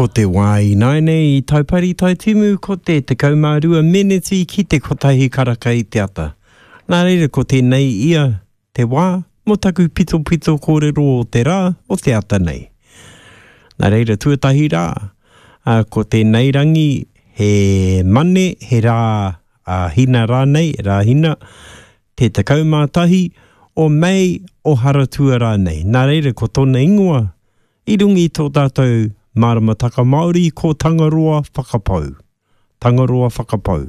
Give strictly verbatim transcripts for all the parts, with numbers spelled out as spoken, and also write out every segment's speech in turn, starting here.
Ko te wā ināianei i Taupari Taitimu ko te tekau mā rua meneti ki te kotahi karaka i te ata. Nā reira ko tēnei ia te wā mō taku pitopito kōrero o te rā o te ata nei. Nā reira tuatahi rā, ā, ko tēnei rangi he mane, he rā ā, hina rānei, rā hina, te tekau mā tahi o Mei o Haratua rānei. Nā reira ko tōna ingoa i runga i tō tātou māramataka Māori ko Tangaroa Whakapau. Tangaroa Whakapau.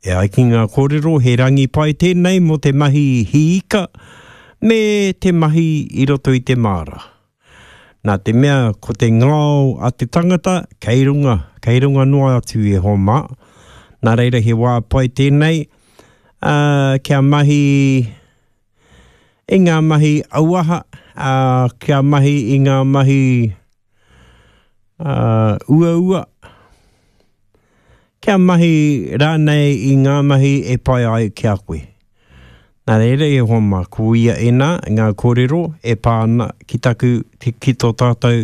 E ai ki ngā kōrero, he rangi pai tēnei mō te mahi hiika me te mahi i roto i te māra. Nā te mea ko te ngao a te tangata kei runga, kei runga noa atu e hoa mā. Nā reira he wā pai tēnei uh, kia mahi i ngā mahi auaha, uh, kia mahi i ngā mahi uh, uaua, kia mahi rānei i ngā mahi e pai ai ki a koe. Nā reira e hoa mā, ko ia ēnā ngā kōrero e pā ana ki taku, ki tō tātou,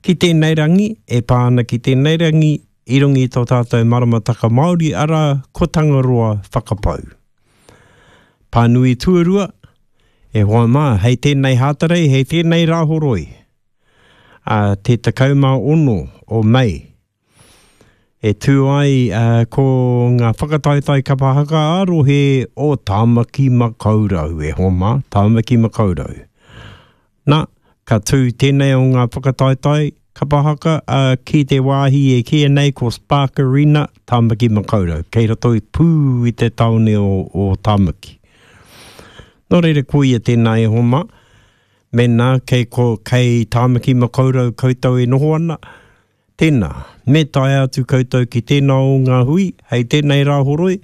ki tēnei rangi, e pā ana ki tēnei rangi, i runga i tō tātou maramataka Māori, arā, ko Tangaroa Whakapau. Pānui tuarua, e hoa mā, hei tēnei Hātarei, hei tēnei Rāhoroi, ā, te tekau mā ono o Mei, e tū ai uh, ko ngā whakataetae kapa haka ā-rohe o Tāmaki Makaurau, e hoa mā, Tāmaki Makaurau. Nā, ka tū tēnei o ngā whakataetae kapa haka uh, ki te wāhi e kīia nei ko Spark Arena, Tāmaki Makaurau, kei roto i pū i te tāone o, o Tāmaki. Nō reira ko ia tēnā e hoa mā, mēnā kei, ko, kei Tāmaki Makaurau koutou e noho ana, tēnā, me tae atu koutou ki tēnā o ngā hui, hei tēnei Rāhoroi,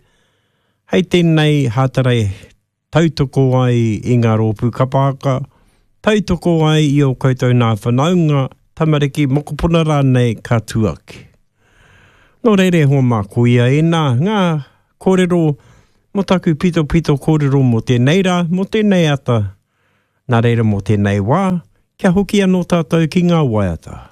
hei tēnei Hātarei tautoko ai i ngā rōpū kapa haka, tautoko ai i ō koutou nā whanaunga, tamariki, mokopuna rānei ka tū ake. Nō reira e hoa mā, ko ia ēnā ngā kōrero mō taku pitopito kōrero mō tēnei rā, mō tēnei ata, nā reira mō tēnei wā, kia hoki anō tātou ki ngā waiata.